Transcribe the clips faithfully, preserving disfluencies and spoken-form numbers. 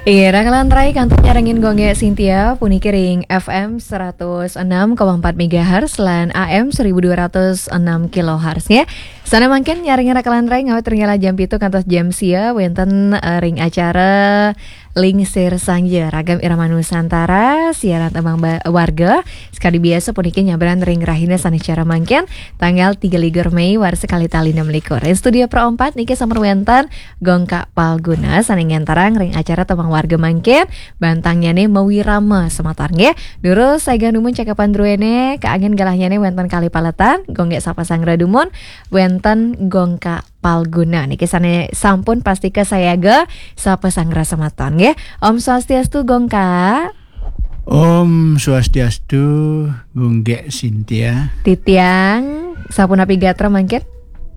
Iya, rakalan rai kantun nyarengin Gung Gek Sintia, puniki ring F M seratus enam koma empat megahertz lan A M seribu dua ratus enam kilohertz, ya. Sané mangkin nyarengin rakalan rai ngawit ring galah jam pitu kantos jam sia, wénten, eh, ring acara Lingsir Sangja, Ragam Irama Nusantara, siaran tembang ba-, warga. Sekadi biasa puniki nyabran ring rahina sané cara mangkin, tanggal tiga likur Mei, warsa kalih tali enam likur. Ring studio Pro empat niki sampun wénten Gung Gek Palguna sané ngenterang ring acara tembang warga mangkin, bantangnyané mawirama semeton nggih. Durus sagang dumun cakepan druéné, kaanggén galahnyané wénten kalih paletan, Gung Gek sapa sanggra dumun, wénten Gung Gek Palguna. Niki sané sampun pastika sayaga sapa sanggra semeton nggih. Om Swastiastu Gung Gek. Om Swastiastu, Gung Gek Sintia. Titiang, sapunapi gatra mangkin?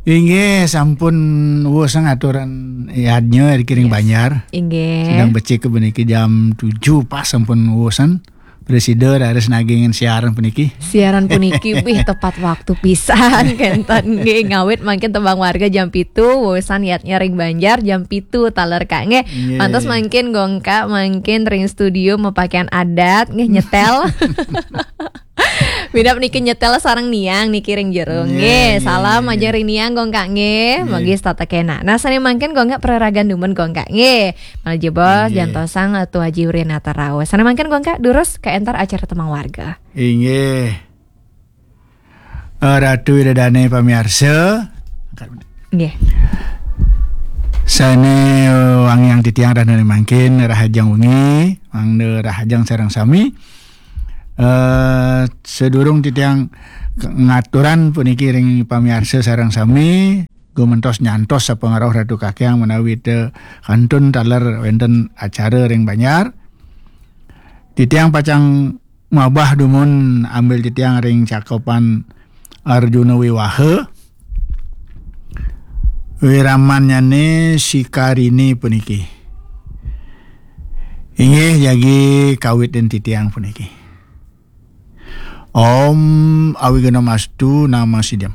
Inggih, sampun wus ngaturan yadnya ring Yes. Banjar. Inggih. Sedang becik puniki jam tujuh pas sampun wusan. Presida raris nagingin siaran puniki. Siaran puniki, wih, tepat waktu pisan, kénten nggih, ngawit mangkin tembang warga jam pitu, wusan yadnya ring Banjar jam pitu taler Kak nggih. Inggih. Pantes mangkin Gung Gek mangkin ring studio mapakaian adat nggih, nyetel. Bida niki nyetel sareng Niang niki ring jero nggih. Nggih, nggih, salam nggih, aja nggih. Ring Niang Gung Gek nggih. Nggih. Mugi setata kénak. Nah, sané mangkin Gung Gek praragan dumun Gung Gek nggih. Malih jebos Nggih. Jantosang, eh, Tu Aji Urianata raos. Sané mangkin Gung Gek durus kaénter acara tembang warga. Inggih. Eh, Ratu Ida Dané pamiarsa. Nggih. Sané, eh, wangiang titiang rahina mangkin, rahajeng wengi, mangda rahajeng sareng sami. Eh, sadurung titiang k-, ngaturan puniki ring pamiarsa sareng sami, gumentos nyantos sapangrauh Ratu Kakiang menawi té kantun taler wénten acara ring Banjar. Titiang pacang mabah dumun ambil titiang ring cakepan Arjuna Wiwaha. Wiramannyané Sikarini puniki. Inggih jagi kawit ring titiang puniki. Om Awighnam Astu Namo Sidham.